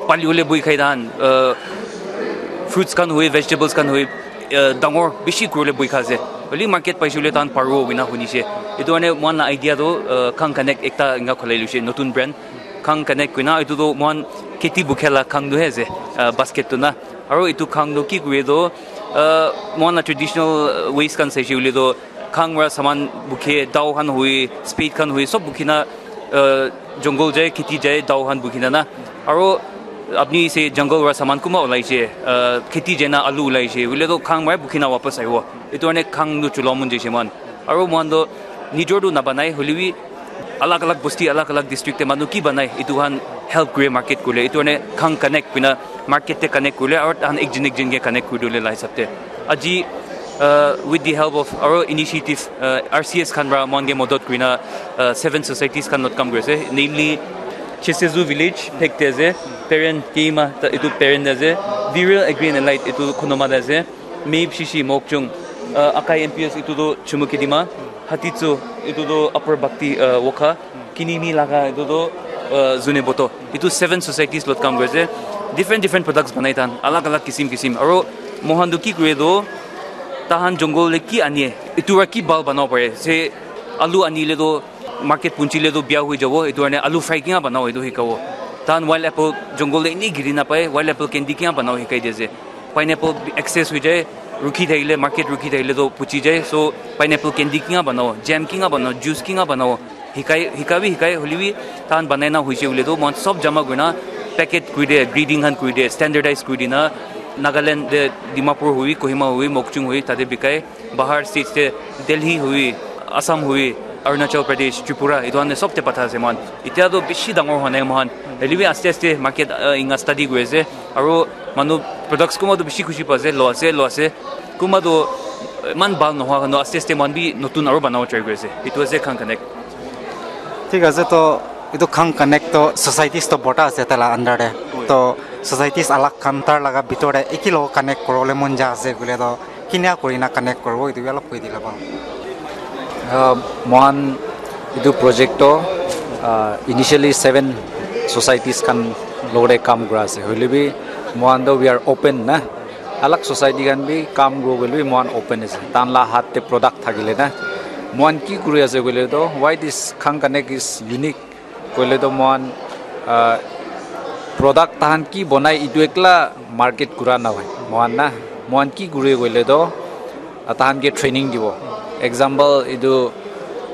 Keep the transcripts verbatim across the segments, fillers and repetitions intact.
Pali hole bui khai tahan, uh, fruits khan hui, vegetables khan hui, uh, dangor bishi kuribole bui kha ase. Holi market paise hole tahan paribo koina hunise. Etu karne mohan la idea tu, uh, Khang Connect ekta enka khulai luse, notun brand. Khang Connect koina, etu tu mohan kheti bukhe la khang tu he ase, uh, basket tu na. Aro etu khang tu ki kure tu, uh, mohan la traditional, uh, ways khan saise hole tu, khang para saman bukhe, dao khan hui, spade khan hui, sob bukhi na, uh, jungle jai, kheti jai, dao khan bukhi na na. Aro apni se jungle para saman kuma ulai se, uh, kheti jai na alu ulai se, hule to khang para bukhi na wapas aibo. Etu karne khang tu chula mon jaise mohan. Aro mohan to nijor tu nabanai, hule bi alag alag bosti, alag alag district te manu ki banai, etu khan help kure market kule. Etu karne Khang Connect koina market te connect kule, aro tahan ekjin ekjin ke connect kuri dole la hisab te. Aji, uh, with the help of aro initiative, uh, R C S khan para mohan ke madad kurina, uh, seven societies khan lot kam kuri ase, namely Chesezu village, Phek te ase, Peren Keima, ta-, etu Peren te ase, Viral Agri and Allied, etu Khonoma te ase, Meb Shishi Mokchung, uh, Akai M P S, etu tu Chumukedima, Hatitsu, etu tu Upper Bhakti, uh, Wokha, Kinimi laga etu tu, uh, Zunheboto. Etu seven societies lot kam kuri ase. Different, different products banai tahan. Alag, alag kisim, kisim. Aro mohan tu ki kure tu, tahan jungle le ki anie, etu para ki bhal banabo pare. Se alu anile tu market punchile tu bia hui jabo. Etu karne alu fry kinga banabo, etu hikabo. Tahan wild apple jungle le eni giri napai, wild apple candy kinga banabo hikai di ase. Pineapple excess hui jai, rukhi thakile, market rukhi thakile to puchi jai. So, pineapple candy kinga banabo, jam kinga banabo, juice kinga banabo, hikai, hika bi hikai, hole bi tahan banai na hoise hole to, mohan sob jama kurina, packet kuri de, grading khan kuri de, standardize kuri dina, Nagaland de, Dimapur hui, Kohima hui, Mokchung hui, tate bikai. Bahar states te Delhi hui, Assam hui, Arunachal Pradesh, Tripura, etu khan te sob te patha ase mohan. Etia toh bishi dangor hwa nai mohan. Hoile bi aste aste market, uh, inga study kuri ase. Aro manu products kunba toh bishi khushi pa ase, lo ase, lo ase. Kunba toh, uh, iman bhal nohwa khan toh aste aste mohan bi notun aro banabo try kuri ase. Etu ase Khang Connect. Thik ase, to etu Khang Connect to societies to borta ase tai la under te. To societies alak khan tar laga bitor te eki logot connect kuribole mon ja ase koile to kinika kurina connect kuribo, etu bi olop koi dile bhal. Uh, mohan etu project to, uh, initially seven societies khan logot te kam kura ase. Hoile bi mohan to we are open na. Alak society khan bi kam kuribo koile bi mohan open ase. Tahan la hath te product thakile na. Mohan ki kuri ase koile to, why this Khang Connect is unique? Koile to mohan, ah, product tahan ki banai etu ekla market kura nahoi. Mohan na, mohan ki kure koile to, ah, tahan ke training dibo. Example, etu,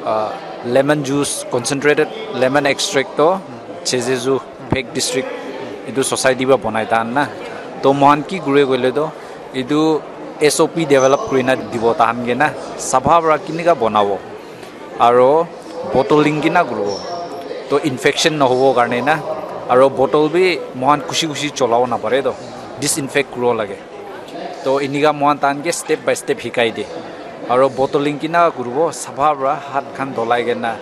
ah, lemon juice, concentrated lemon extract to Chesezu, Phek district, etu society para banai tahan na. To mohan ki kure koile to, etu S O P develop kurina dibo tahan ke na. Sapha para kinika banabo. Aro bottling kina kuribo. To infection nohobo karne na. Aro bottle bi mohan khushi khushi cholabo napare to. Disinfect kuribo lage. To inika mohan tahan ke step by step hikai de. Aro bottling kina kuribo, sapha para hath khan dholai kena,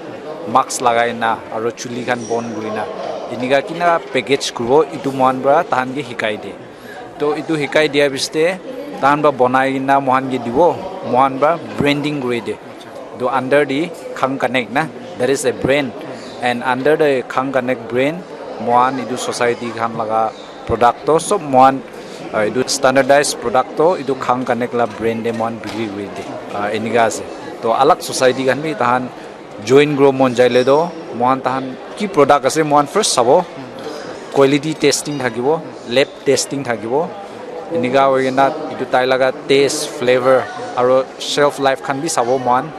mask lagai na, aro chuli khan bon kuri na. Inika kina package kuribo, etu mohan para tahan ke hikai de. To etu hikai dia piste tahan para banai kena mohan ke dibo, mohan para branding kuri de. To under the Khang Connect na, there is a brand, and under the Khang Connect brand, mohan etu society khan laga product to sob mohan, uh, etu standardized product to etu Khang Connect la brand de mohan bikri kuri de. Uh, enika ase. To alak society khan bi tahan join kuribo mon jaile to mohan tahan ki product ase mohan first sabo, quality testing thakibo, lab testing thakibo. Enika hoi kena etu tai laga taste, flavor aro shelf life khan bi sabo mohan,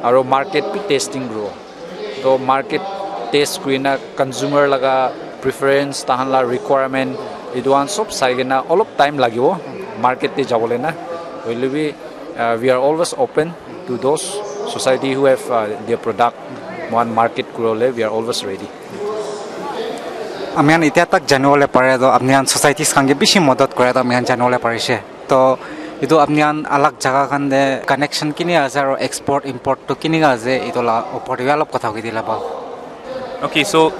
aro market bi testing kuribo. To market test kurina consumer laga preference, tahan la requirement, etu khan sob sai kena olop time lagibo market te jabole na. Hoile bi, uh, we are always open to those society who have, uh, their product mohan market kuribole, we are always ready. Ami khan etia tak janibole pare to apni khan societies khan ke bishi madad kore to ami khan janibole parise. To etu apni khan alag jaga khan te connection kini ase aro export import to kinika ase, etu la opor te bi olop kotha koi dile bhal. Okay, so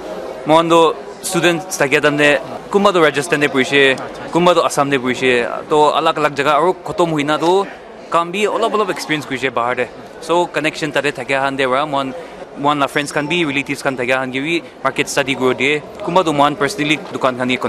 mohan to students thakia time te kunba to Rajasthan te purise, kunba to Assam te purise, to alag alag jaga aro khotom hoina to kam bi olop olop experience kurise bahar te. So connection tate thakia khan te para mohan, mohan la friends khan bi, relatives khan thakia khan ke bi market study kuri diye. Kunba to mohan personally dukan khan ke